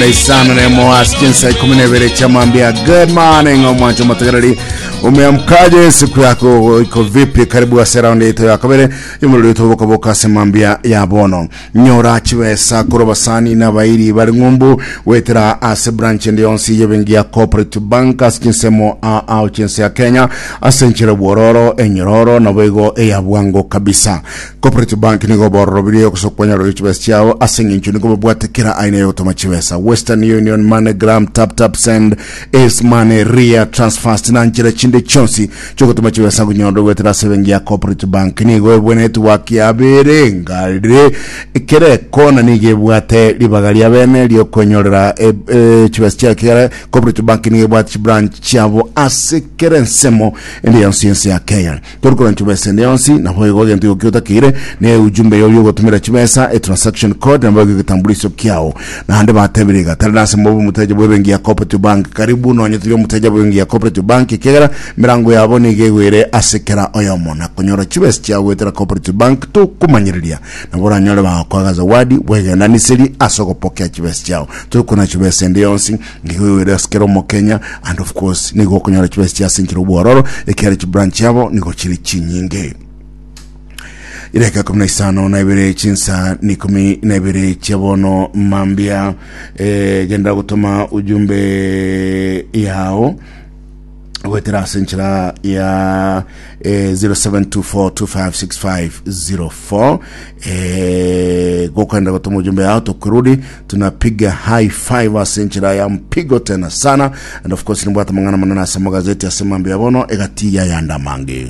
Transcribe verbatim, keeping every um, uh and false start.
na isano na emo ase chinsa ikumi na ibere chamambia. Good morning, omwancho motegereri, umeamkaje? Siku yako iko vipi? Karibu ase raundi yetu ya kabere yomuriro tubokaboka ase mambia ya bono. Nyora chibesa korwa basani na bairi bari ng'umbu wetera ase branch ende yonsi yebengi ya Cooperative Bank ase chinsemo ao chinse ya Kenya, ase enchera bwororo, enyororo, nabo igo eya bwango kabisa. Cooperative Bank nigo bororobirie ogosokwanyara chibesa chiao ase eng'encho nigo babwate kera aina yogotoma chibesa: Western Union, MoneyGram, Tap Tap Send, Ace Money, Ria Transfast na nchera chinde chionsi chiogotoma chibesa ngonyororo gwetera ase ebenki ya Cooperative Bank. Nigo ebwe network yabere ngarire kere kona, nigo ebwate ribaga ria bene riokwenyorera e, e, chibesa chia kera. Cooperative Bank nigo ebwate chibranch chiabo ase kere ensemo ende yonsi ense ya Kenya. Torikora chibesa ende yonsi, nabo igo egento igo kiotakeire ne ujumbe yoyo ogotumira chibesa, e transaction code, nabo igo egetambulisho kiao. Naende batebire iga tari nase mobe omoteja bwa ebenki ya Cooperative Bank, karibu nonye turi omoteja bwa ebenki ya Cooperative Bank, ekegera mirango yabo nigo egwere ase kera oyomo na konyora chibesa chiao gwetera Cooperative Bank tokomanyereria nabo oranyore bagokoaga zawadi bwegendaniseri ase ogopokea chibesa chiao. Torikona chibesa ende yonsi, nigo egwere ase kera omokenya, and of course nigo okonyora chibesa chia ase enchera obwororo ekere chibranch yabo nigo chiri chinyinge. Idakika kumi na isano na ibere chinsa ni kumi na ibere chia bono mambia. eh, genda gutuma ujumbe yao gwetera ase enchera ya eh, zero seven two four two five six five zero four. eh, gokwenda gutuma ujumbe yao, tukirudi tunapiga high five ase enchera ya mpigo tena sana. And of course nimbwata mang'ana manene ase magazeti ase mambia bono egati ya yanda mange.